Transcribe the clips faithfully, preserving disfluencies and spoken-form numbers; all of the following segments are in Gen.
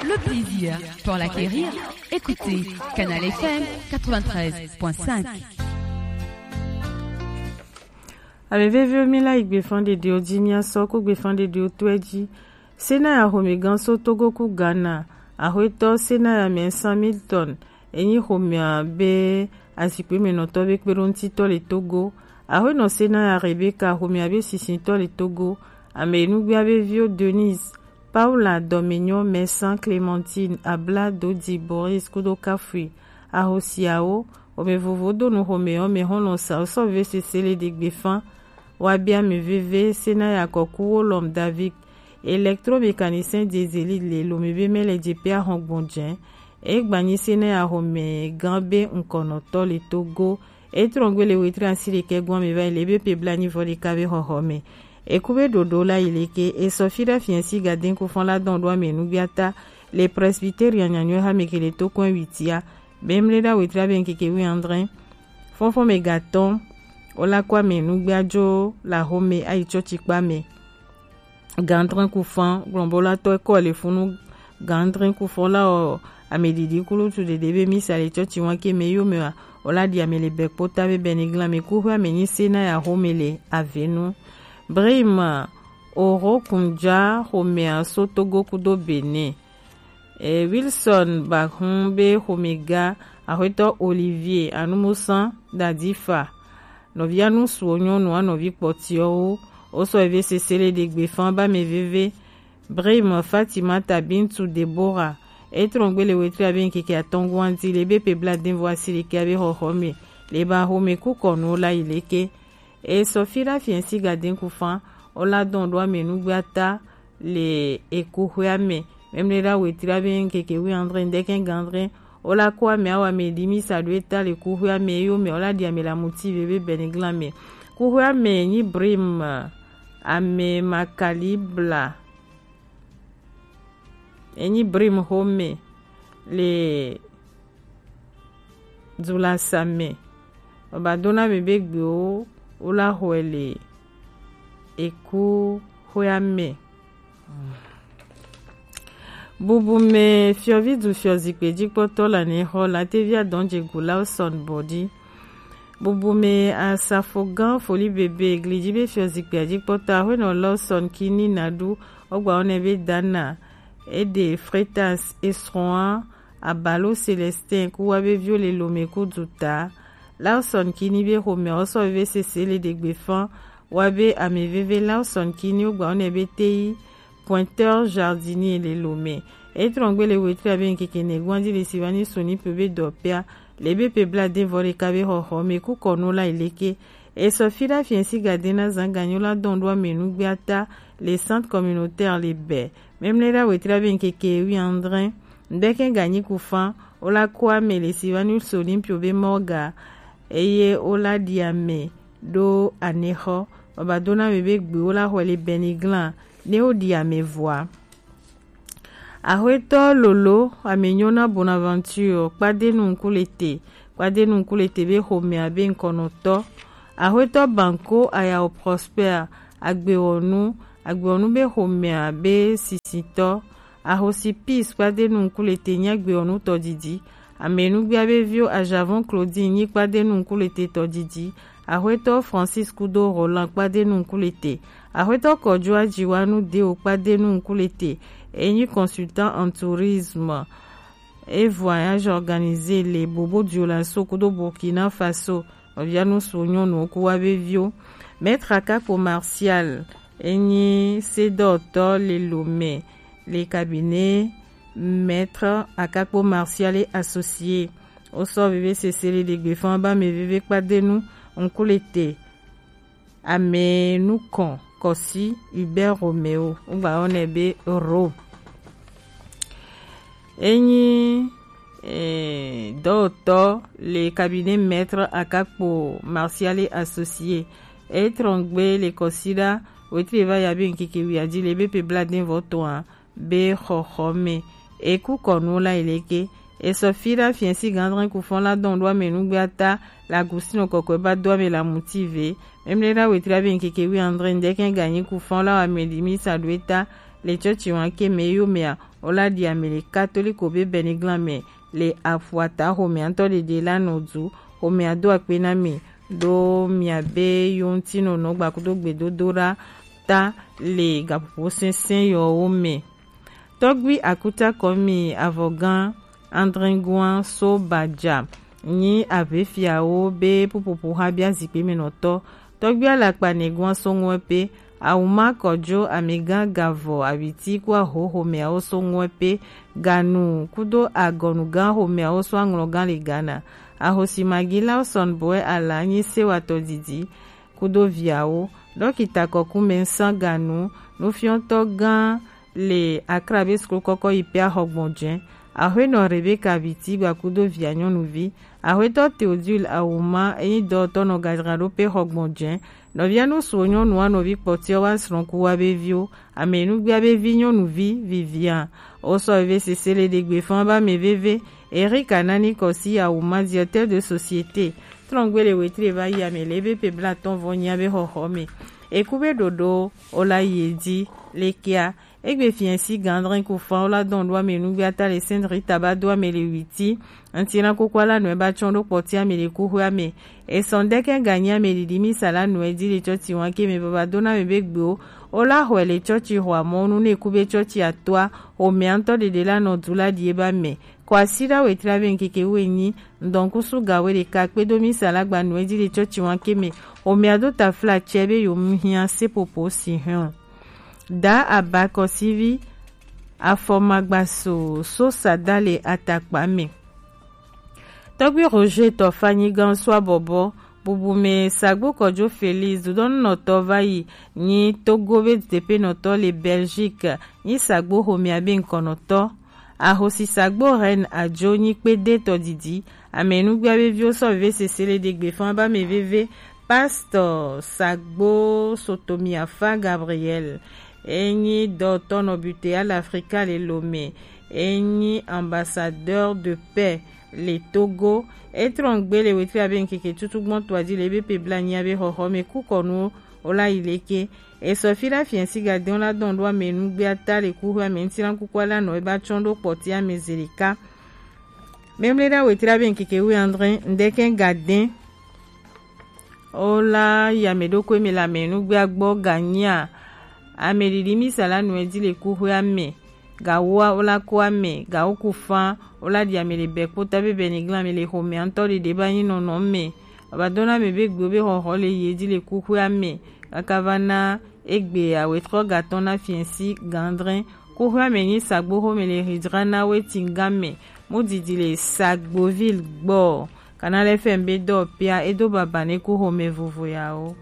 Le plaisir pour l'acquérir, écoutez Canal F M quatre-vingt-treize point cinq. Ame veviwo, mi la yi gbefan ɖeɖewo ji, mi asɔ ku gbefan ɖeɖewo to e ji. Sena ya xomɛgan so Togo ku Ghana, axwetɔ Sena ya Mɛnsan Milton, enyi xomɛa be azikpemɛnɔtɔ be kpeɖoŋutitɔ le Togo. Axwenɔ Sena ya Rebecca, xomɛa be sisitɔ le Togo. Ame enugbea be viwo Denise, Paula, Dɔmenyɔ, Mɛsan, Clementine, Abla, Dodi, Boris kudo Kafui. Ahosiawo, xomɛ vovo do nu xomɛ ɔ mɛ xɔlɔ sa sɔ ve sese le ɖe gbefan. Wa bia mi veve Sena ya kɔku wo lɔm David, électromécanicien diesel le lome be mɛ le jepe ahɔn gbɔn jɛ. Egbanyi Sena ya xomɛgan be ŋkɔnɔtɔ le Togo. Etrɔngbe le wetri asi ɖekɛ gɔn mi va yi le be pe bla nyi vɔ ɖeka be xɔxɔ mɛ. Eku be ɖoɖo la yi leke, esɔ fi ɖa fiɛsi gaden kufɔn la dɔn ɖo ame nugbiata le Presbyterian nyanyɔ ha mɛ ke le to kɔn witia. Be mle ɖa wetri abe ŋkeke wi andre. Fɔnfɔn mɛ gatɔn, o la kɔ ame nugbia jo la xomɛ ayi tsɔtsi kpa mɛ. Gandrin kufan, glɔnbolatɔ kɔ le funu. Gandrin kufan la o, ame ɖiɖi kulutu ɖeɖe be misa le tsɔtsi wan ke mɛ yo mɛ wa, o la ɖi ame le bɛ kpota be bɛ ni glan mɛ kuxwe ame nyi Sena ya xomɛ le avenu. Brim, Oro Kunja xomɛa so Togo kudo Benin. E, Wilson Bahun be xomɛga, axwetɔ Olivier Anumusan Dadifa. Nɔvia nu suwo nyɔnu a nɔvi kpɔtiɔwo, wo sɔ eve sese le ɖe gbefan ba mɛ veve. Brim Fatimata Bintu Deborah, etrɔngbe le wetri abe ŋkeke atɔn guan di le be pe bla den vɔ asi ɖeke abe xɔxɔ mɛ, le ba xomɛ ku kɔnu la yi leke. E sɔ fi ɖa fiɛsi gaden kufan, o la dɔn ɖo ame nugbiata le ekuxwea mɛ. Mɛmlɛ ɖa wetri abe ŋkeke wi andre ŋdɛkɛ gandre, o la kɔ ame awa mɛ ɖi misa ɖo eta le kuxwea mɛ yo mɛ o la ɖi ame la muti veve bɛ ni glan mɛ. Kuxwea mɛ nyi Brim, ame makali bla. Enyi Brim xomɛ le du la sa mɛ. Baba dona mi be gbewo wo la xɔe le eku xwea mɛ. Bubu mɛ fiɔvi du fiɔ zikpe jikpɔtɔ la ne xɔ la tevi adɔn jegu la o sɔn bɔdi. Bubu mɛ asafo gan foli bebe glidzi be fiɔ zikpe jikpɔtɔ axwenɔ la o sɔn kini na ɖu. Ogba wonɛ be dana. Ede Fretas esrɔ̃a Abalo Célestin ku wa be viwo le lome ku duta. Lawson Kini be xomɛ osɔ veve sese le ɖegbe fan wa be ame veve Lawson Kini wo gba wonɛ be teyi pointeur jardinier le lome. Etrɔngbe le wetri abe ŋkeke nɛ gwanji le Sivani Sonipe be dɔpea le be pe bla de vɔ ɖeka be xɔxɔ me ku kɔnu la ileke. Esɔ fi ɖa fiɛsi gade na zan ganyo la dɔn ɖo ame nugbe ata le centre communautaire le bɛ. Mɛmlɛ ɖa wetri abe ŋkeke wi andre. Ŋdɛkɛ ganyi ku fan wo la ku ame le Sivani Sonipe be mɔga eye wo la ɖi ame ɖo anexɔ. Baba dona mi be gbe wo la xɔe le bɛniglan ne wo ɖi ame vɔa. Axwetɔ Lolo amenyo na Bonaventure kpadenu ŋku le te, kpadenu ŋku le te be xomɛ abe ŋkɔnɔtɔ. Axwetɔ Banko Ayao Prosper agbewɔnu, agbewɔnu be xomɛ abe sisitɔ. Ahosi Peace kpadenu ŋku le te nyi agbewɔnu tɔdidi. Amenugbia be viwo Ajavon Claudine nyi kpadenu ŋku le te tɔdidi. Axwetɔ Francis kudo Roland kpadenu ŋku le te. Axwetɔ Kɔjo Ajiwanu Deo kpadenu ŋku le te. Enyi consultant en tourisme. E voyage organisé le Bobo Dioulasso kudo Burkina Faso. Nɔvia nu su nyɔnu ku wa be viwo. Maître Akakpo Martial enyi sedɔtɔ le Lomé le cabinet Maître Akakpo Martial et associé. Wo sɔ veve sese le ɖegbe fan ba ame veve kpadenu ŋku le te. Ame nukɔn Kɔsi Hubert Romeo, wogba yɔnɛ be Ro. Enyi eh, dɔwɔtɔ le cabinet Maître Akakpo Martial et associé. Etrɔngbe le Kɔsi ɖa wetri va ya be ŋkeke wiadi le be pe bla den vɔ tɔn be xɔxɔ me. Eku kɔnu la ileke. Esɔ fi ɖa fiɛsi gandrin ku fɔn la dɔn ɖo ame nugbe ata la gusinɔ kɔkɔe ba do ame la muti ve. Mɛmlɛ ɖa wetri abe ŋkeke wi andre ŋdɛkɛ ganyi ku fɔn la wa ame ɖi mi sa ɖo eta le cɔci wanke mɛ yo mɛa, o la ɖi ame le katoliko be bɛniglan mɛ le afuata xomɛatɔ ɖeɖe la nɔ du. Xomɛa do akpe na mi ɖo miabe yontinɔnɔ gbakudo gbedodoɖa ta le gaƒoƒo sɛnsɛn yɔwo mɛ. Tɔgbui akutakɔ mi avɔgan Andringuan so baja nyi aʋefiawo be pupupu ha bia zikpe me nɔtɔ. Tɔgbui alakpa nɛguan so ŋuɛ pe, awuma kɔjo amɛgan gavɔ awiti ku ahoho mɛawo so ŋuɛ pe, ganu kudo agɔnugan xomɛawo so aŋlɔgan le Ghana. Ahosi Maggie Lawson Boy Ala nyi sewatɔ didi kudo viawo. Ɖɔkita kɔkumɛ ŋsan ganu nufiɔtɔ gan le Accra be suklu kɔkɔ yi pe axɔ gbɔn jɛn. Axwenɔ Rebecca Biti gbakudo via nyɔnuvi. Axwetɔ Theodule Awuma enyi dɔtɔ nɔ gajraɖo pe xɔ gbɔn jɛn. Nɔvia nusuwo nyɔnua nɔvi kpɔtiɔ wa srɔ̃ku wa be viwo. Amɛnugbia be vi nyɔnuvi Vivian. Osɔ veve sese le ɖegbe fan ba mɛ veve. Eric Anani Kɔsi Awuma, directeur de société. Trɔngbe le wetri va yi ame le be pe blatɔn vɔ nyia be xɔxɔ me. Eku be ɖoɖo o la yi edzi le kia. Egbe fiɛsi gandrin ku fan o la dɔn ɖo ame nugbe ata le Sainte Rita ba do ame le witi. Ŋti na koko ala nɔɛ ba tsɔn ɖo kpɔti ame le kuxwe ame. Esɔn dɛkɛ ganyi ame ɖiɖi mi sa la nɔɛ di le tsɔtsi wan ke me baba do na me be gbewo. O la xɔɛ le tsɔtsi xɔ amɔ nu ne ku be tsɔtsi atoa. O mɛ ŋtɔ ɖeɖe la nɔ du la ɖi e ba mɛ. Kɔ asi ɖa wetri abe ŋkeke wuienyi, ŋdɔkusu ga wuiɖeka kpedo misa la gba nu edzi le tsɔtsi wanke me. Omea do tafla tsɛ be yewo mu hiã seƒoƒo si hɛn o. Da abakɔsivi afɔmagbaso so sada le atakpa me. Tɔgbi Roger Tɔfa nyigan so abɔbɔ bubu me sagbo kɔjo Félix dudɔnunɔtɔ va yi nyi Togo be dudeƒenɔtɔ le Belgique nyi sagbo xomea be ŋkɔnɔtɔ. Ahosi sagbo Reine Ajo nyi kpedetɔ didi. Ame nugbea be viwo sɔ veve sese le ɖegbe fan ba me veve. Pastor sagbo Sotomiafa Gabriel enyi dɔtɔ nɔ butea le Afrika le Lome. Enyi ambassadeur de paix le Togo. Etrɔn gbe le wetri abe ŋkeke tutu gbɔn toa di le ebe pe bla nyia be xɔxɔ me kukɔnuwo o la yi leke. Esɔ fi la fiɛsi gadɛn la dɔn ɖo ame nugbea ta le kuxwe ame ŋti la kuku ala nɔ eba tsɔn ɖo kpɔti ame zelika. Memle ɖa wetri abe ŋkeke wi andre ŋdɛkɛ gadɛn o la yi ame ɖokui me le ame nugbea gbɔ ganyia. Ame ɖiɖi misa la nɔe di le kuxwe ame. Gawoa wo la ko ame gawo ku fan wo la ɖi ame le bɛ kpota be bɛ ni glan ame le xomea ŋtɔ ɖeɖe ba nyi nɔnɔ me. Baba dona ame be gbewo be xɔxɔ le yi edzi le kuxwea me kaka va na egbe awetrɔ gatɔ na fiɛsi gandrin. Kuxwea me nyi sagbo xome le hijra na weti ga me. Mu didi le sagboville gbɔ. Kana le fɛn be dɔ pia edo baba ne ku xome vovo yawo.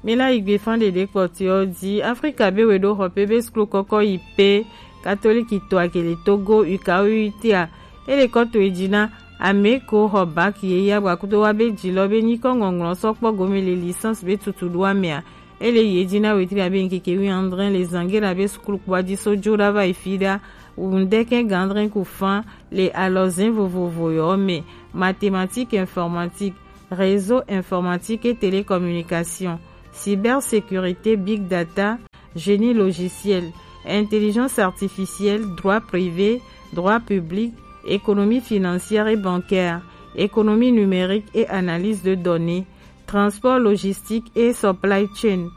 Mi la yi gbe fan ɖeɖe kpɔtɔewo di Afrika be we ɖo xɔ pe be suklu kɔkɔ yi pe katoliki to akele Togo uka uita. Ele kɔ to edzi na ame ko xɔ bak ye ya gba kudo wa be dzi lɔ be nyikɔ ŋɔŋlɔ sɔ kpɔ gome le licence be tutu ɖo amea. Ele yi edzi na wetri abe ŋkeke wi andre le zangera be suklu kpɔa di so jo ɖa va yi fi ɖa. Ŋdɛkɛ gandrin ku fan le alɔzin vovovo yɔ me, mathématique informatique, réseau informatique et télécommunication, cybersécurité, big data, génie logiciel, intelligence artificielle, droit privé, droit public, économie financière et bancaire, économie numérique et analyse de données, transport logistique et supply chain,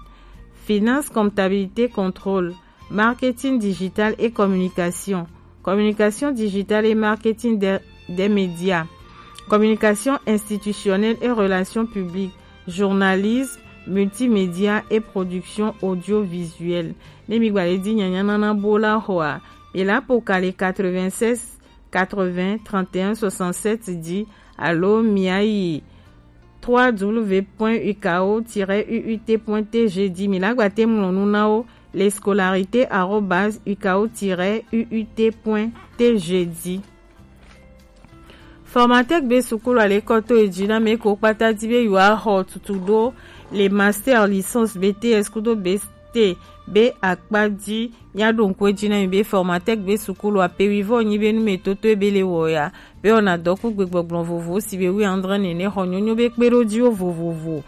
finance, comptabilité, contrôle, marketing digital et communication, communication digitale et marketing des, des médias, communication institutionnelle et relations publiques, journalisme, multimédia et production audiovisuelle. Ne mi gba le di nyanya nana bo la xɔa, mi la po ka le quatre-vingt-seize quatre-vingts trente et un soixante-sept di alo mi a yi trois W point U K O tiret U U T point T G di mi la gba te mlɔ nu na wo le scolarité arobase U K O tiret U U T point T G di. Formatec be sukulu ale kɔ to edzi na me ko kpata di be yewoaxɔ tutu ɖo le master, licence, B T S kudo B T be akpa di. Míaɖo ŋku edzi na mi be Formatec be sukulu ape wivɔ nyi be numetoto ebe le wɔ ya be wɔna dɔ ku gbegbɔgblɔ vovovo si be wi andre nene xɔ nyonyo be kpeɖodziwo vovovo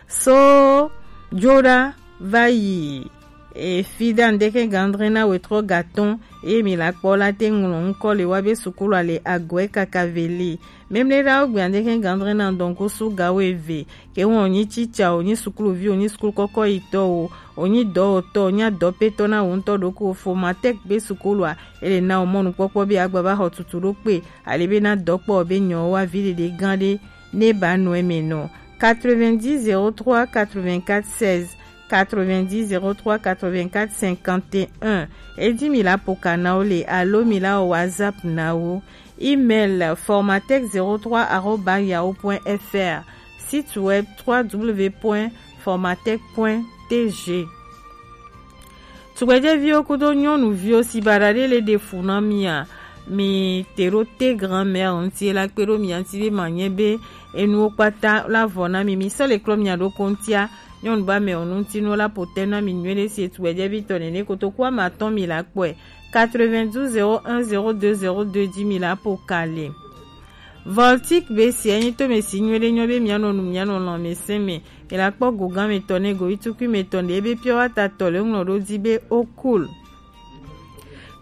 so jo ɖa va yi e fi da ndeke gandre na wetrɔ gatɔn, eye mi la kpɔ la te ŋlɔ ŋkɔ le wa be sukulu ale agɔe kaka veli. Memle da wo gbe ndeke gandre na dɔnku su ga wo eve, ke wɔn onyi cica, onyi sukuluvi, onyi sukulu kɔkɔ yi tɔ o, onyi dɔwɔtɔ, onyi adɔpetɔ na wo ŋutɔ ɖoko. Formatec be sukulu a, ele na wo mɔnukpɔkpɔ be agba va xɔ tutu ɖo kpe, ale be na dɔkpɔ be nyɔ wa vi ɖeɖe gã ɖe ne ba nɔ eme nɔ. Quatre-vingt-dix zéro trois quatre-vingt-quatre seize, quatre-vingt-dix zéro trois quatre-vingt-quatre cinquante et un. Edi mi la poka na wo le alo mi la wɔ WhatsApp na wo. Email formatec zéro trois arobase yahoo point F R. Site web trois W point formatec point T G. Tugbɛjɛviwo kudo nyɔnuviwo si baɖa ɖe le ɖe fu na mia, mi te ɖo te grand-mère ŋuti la kpe ɖo mia ŋuti be ma nyɛ be enuwo kpata la vɔ na mi. Mi sɔ le klɔ mia ɖoko ŋutia, nyɔnu ba mɛ o ŋuti nu la po te na mi nyuie ɖe si etugbɛjɛvi tɔ nene kotoku ama tɔn mi la kpɔe. Quatre-vingt-douze zéro un zéro deux zéro deux dix mi la po kale. Voltic be si enyi to me si nyuie ɖe nyɔ be mia nɔ nu mia nɔ lɔn me se me. Mi la kpɔ go gan me tɔ ne go itukui me tɔ ne ebe pure water tɔ le ŋlɔ ɖo di be o cool.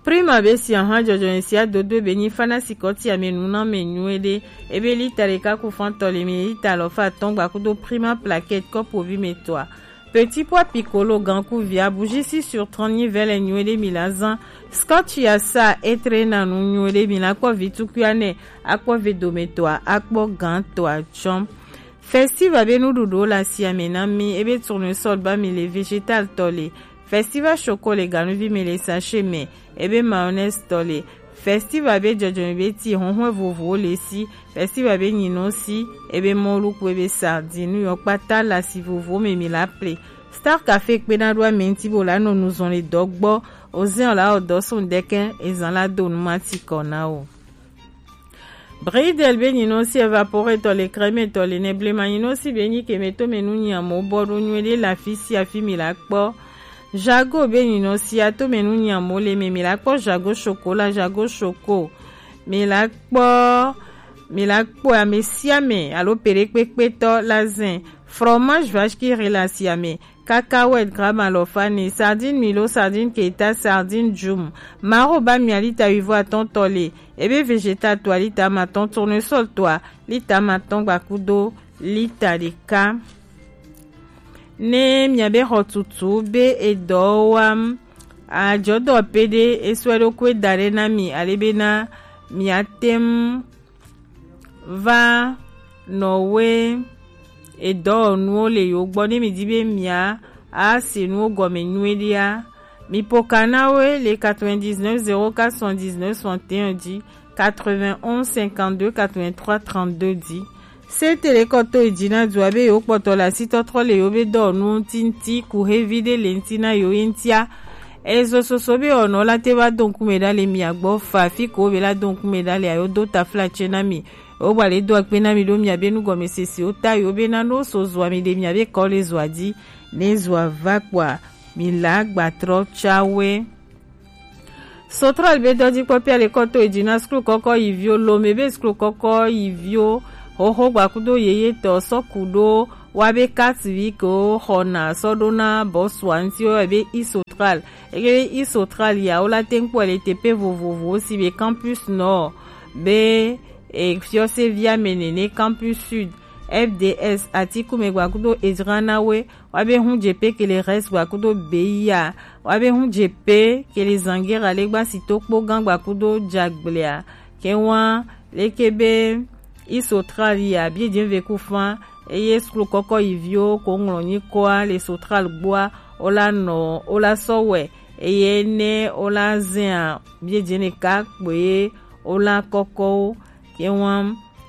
Prima be si ahan jɔjɔ ne si adodo be nyi fana si kɔti ame nu na me nyuie ɖe. Ebe lita ɖeka ku fan tɔ le mi lita alɔfa atɔn gba kudo Prima plaquette kɔpo vi me tɔa. Petit pois piccolo gan ku via bougie six sur trente nyi vɛ le nyuie ɖe mi la zan. Scotch ya sa etre na nu nyuie ɖe mi la kpɔ vi tukui anɛ, akpɔ ve dome tɔa, akpɔ gan tɔa tsɔm. Festival be nuɖuɖuwo le asiame na mi, ebe tournesol ba mi le, vegetal tɔ le, festival choco le ganuvi me le sachet me, ebe mayonnaise tɔ le, festival be jɔjɔme be ti huhlɔ̃ vovovowo le si, festival be nyinɔ si, ebe mɔlu ku ebe sardine yɔ kpata le asi vovovowo me mi la ple. Star Café kpe na ɖo ame ŋuti bo la nɔ nu zɔn le dɔ gbɔ, ozɛn la o dɔ sun dɛkɛ, ezan la do nu ma ti kɔ na o. Bridel be nyinɔ si evapore tɔ le crème tɔ le ne blema nyinɔ si be nyi keme to me nu nyamo bɔ ɖo nyuie ɖe le afi si afi mi la kpɔ. Jago be nyinɔ si ato me nu nyamo le me mi la kpɔ jago chocolat, jago choco. Mi la kpɔ, mi la kpɔ ame sia ame alo peɖekpekpetɔ la zɛn. Fromage vache qui rit le asiame. Cacahuète gramme alɔfa ne, sardine milo, sardine keta, sardine djum. Maro ba mia lita wivo atɔn tɔ le, ebe vegetal toa lita amatɔn, tournesol toa lita amatɔn gba kudo lita ɖeka. Ne mia be xɔ tutu be edɔ wam, ajɔdɔ pe ɖe esɔe ɖo kue da ɖe na mi, ale be na mia tem va nɔwe edɔwɔnuwo le yewo gbɔ ne mi di be mia a se nuwo gɔme nyuie ɖia, mi poka na wo le quatre-vingt-dix-neuf zéro quatre soixante-dix-neuf soixante et un dzi, quatre-vingt-onze cinquante-deux quatre-vingt-trois trente-deux dzi. Se te le kɔ to yi dzi na dua be yewo kpɔtɔ le asitɔtrɔ le yewo be dɔwɔnuwo ŋuti ŋuti ku xevi ɖe le ŋuti na yewo ye ŋutia. Ezo soso be ɔnɔ la te va do ŋkume ɖa le mia gbɔ fa fi ko be la do ŋkume ɖa le ayo do taflatse na mi. Wo gba le do akpe na mi ɖo mia be nugɔmesesewo ta yo be na no so zua mi ɖe mia be kɔ le zua dzi ne zua va kpɔa mi la gba trɔ tsawe. Sotral be dɔjikpɔpia le kɔ to yi dzi na skul kɔkɔ yi viwo, lome be skul kɔkɔ yi viwo, xoxo gba kudo yeye tɔ sɔ ku ɖo wa be carte vie ke wo xɔna sɔ ɖo na bɔsua ŋuti wo yɔ be Isotral. Eke be Isotral ya wo la te ŋu kpɔe le teƒe vovovowo si be Campus Nord be e, fiɔsevia me nene, Campus Sud, F D S, Atikume gba kudo Edzranawe, wa be hu dze pe ke le Rest gba kudo Beya, wa be hu dze pe ke le Zangera le gba si to kpo gan gba kudo Dzagblea, ke wa leke be Isotral ya bie dze ve ku fa, eye skul kɔkɔ yi viwo ko ŋlɔ nyi kɔa le Sotral gboa, o la nɔ, o la sɔ wɛ, eye ne o la zɛa bie dze ne ka kpoe o la kɔkɔwo, ke wa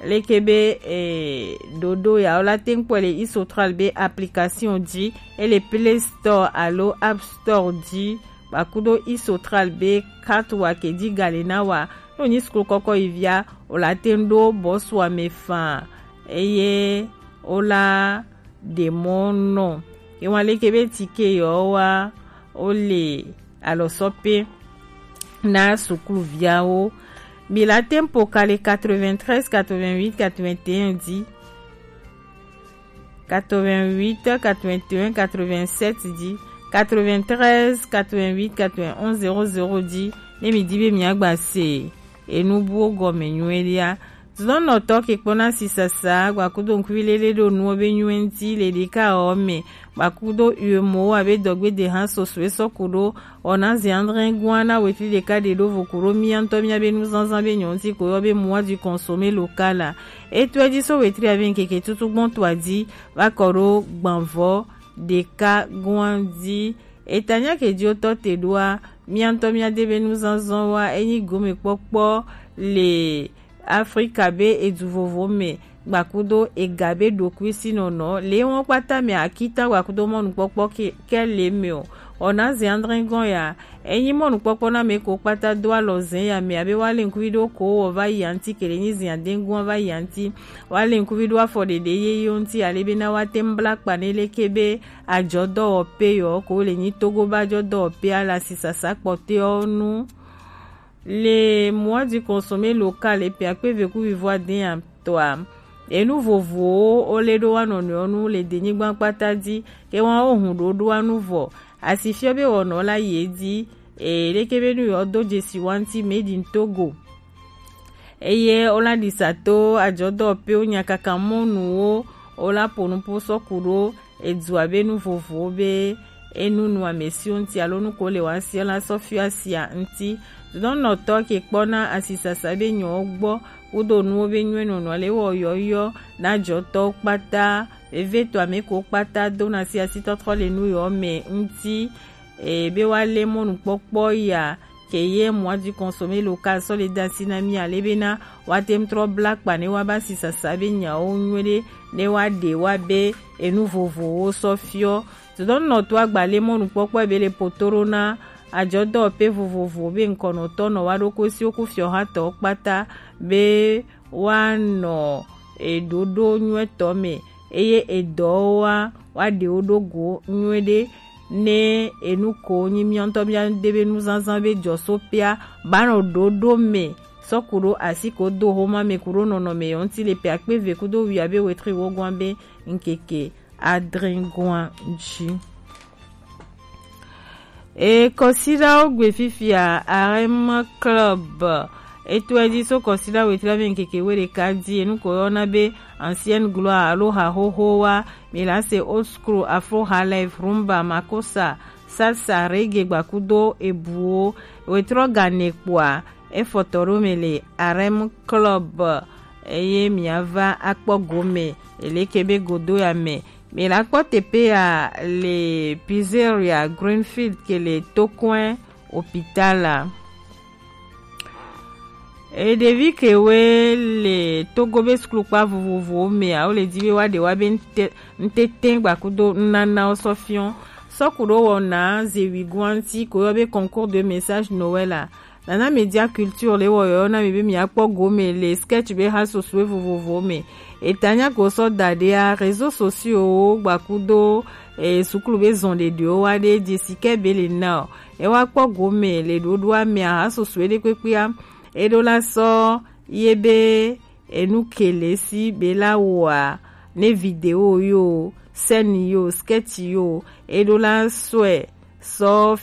leke be e, ɖoɖo ya wo la te ŋu kpɔe le Isotral be application dzi, ele Play Store alo App Store dzi, gba kudo Isotral be carte wa ke dzi ga le na wa. Ne wonyi skul kɔkɔ yi via, wo la te ŋu ɖo bɔsua me faa, eye wo la ɖe mɔ nɔ. Ke wa leke be tike yɔ wa wo le alɔsɔpe na sukluviawo. Mi la te ŋu po ka le quatre-vingt-treize quatre-vingt-huit quatre-vingt-un dzi. quatre-vingt-huit quatre-vingt-un quatre-vingt-sept dzi, quatre-vingt-treize quatre-vingt-huit quatre-vingt-onze zéro zéro dzi, ne mi di be mi agba se enu buwo gɔme nyuie ɖia. Zɔnnɔtɔ ke kpɔna sisasa gbakudo ŋkuvi lele ɖo nuwo be nyuie ŋuti le ɖeka ɔ me, gbakudo uemo abe dɔgbe de hã sosoe sɔku ɖo ɔna ze andre gua na wetri ɖeka ɖe ɖo vo ku ɖo mia ŋutɔ mia be nuzazã be nyɔ ŋuti ko yɔ be mois du consommé local a. Etɔe dzi so wetri ave ŋkeke tutu gbɔn toa dzi va kɔ ɖo gbanvɔ ɖeka gua dzi. Etanya ke dzi wotɔ te ɖoa, mia ŋutɔ mia de be nuzazã wa enyi gome kpɔkpɔ le Afrika be edu vovo me gbakudo ega be ɖokui si nɔnɔ le wɔn kpata me akita gbakudo mɔnukpɔkpɔ ke, ke le me o. Ɔna ze andre gɔn ya enyi mɔnukpɔkpɔ na me ko kpata do alɔ zɛn ya me abe wa le ŋkuvi ɖo ko wɔ va yi anti kele nyi zin adengua va yi anti wa le ŋkuvi ɖo afɔ ɖeɖe ye yo ŋuti ale be na wa te ŋu bla kpa ne leke be ajɔdɔwɔpe yɔ ko le nyi Togo ba ajɔdɔwɔpe ala sisasa kpɔtɔewo nu. Le mois du consommé local epe akpe ve ku vivo aden atɔa, enu vovowo wo le ɖo wa nɔnɔewo nu le denyigba kpata dzi ke wa wo hun ɖo ɖo wa nu vɔ. Asi fiɔ be wɔnɔ la yi edzi e leke be nu yɔ do dzesi wa ŋuti made in Togo. Eye wo la ɖi sa to ajɔdɔwɔpewo nyakaka mɔnuwo wo la po nupo sɔku ɖo edua be nu vovowo be enu nu ame siwo ŋuti alo nu ko le wa si la sɔ fiɔ asia ŋuti. Dodɔnɔtɔ ke kpɔna asisasa be nyɔwo gbɔ kudo nuwo be nyuie nɔnɔ le wɔ yɔyɔ na jɔtɔwo kpata vevetɔ ame ko kpata dona si asitɔtrɔ le nu yɔ me ŋuti. E be wa le mɔnukpɔkpɔ ya ke ye mois du consommé local sɔ le da si na mi ale be na wa te ŋu trɔ bla kpa ne wa ba si sasa be nyawo nyuie ɖe ne wa ɖe wa be enu vovowo sɔ fiɔ. Dodɔnɔtɔ agba le mɔnukpɔkpɔ be le potoro na ajɔdɔwɔpe vovovo be ŋkɔnɔtɔ nɔ wa ɖo ko si wo ku fiɔ ha tɔ kpata be woanɔ eɖoɖo nyuietɔ me eye edɔwo wa woaɖe wo ɖo go nyuie ɖe ne enu ko nyi miɔntɔ miade be nuzazã be jɔsopea banɔ ɖoɖo me sɔku ɖo asi ko do homa me ku ɖo nɔnɔme yɔ ŋuti le pe akpe ve kudo wia be wetri wo gɔn be ŋkeke adre gɔn dzi. E kɔsiɖawo gbe fifia Arem Club. Etɔe dzi so kɔsiɖa wetri ame ŋkeke we ɖeka dzi enu ko yɔna be ancienne gloire alo ha xoxo wa mi la se old school, afro, highlife, rumba, makosa, salsa, reggae gbakudo ebuwo. Wetrɔ gane kpoa efɔtɔ ɖo me le Arem Club eye miava akpɔ gome eleke be godo ya me. Mi la kpɔ teƒe ya le Pizzeria Greenfield ke le Tokoe Hospital a. E ɖevi kewe le Togo be sukulukpa vovovowo mea, wo le di be wa ɖe wa be ŋte-, ŋtete gbakudo nunanawo sɔ fiɔ. Sɔku ɖo wɔna zewi guanti ko yɔ be concours de message Noël a. Nana Media Culture le wɔ yɔyɔ na mi be mi akpɔ gome le sketch be ha sosoe vovovo me. Etanya ko sɔ da ɖea, réseaux sociaux wo gbakudo e sukulu be zɔn ɖeɖewo wa ɖe dzesi ke be le na o. E wa kpɔ gome le ɖoɖoa me aha sosoe ɖe kpekpea. E ɖo la sɔ ye be enu ke le si be la wɔa ne vidéo yo, scène yo, sketch yo, e ɖo la sɔe sɔ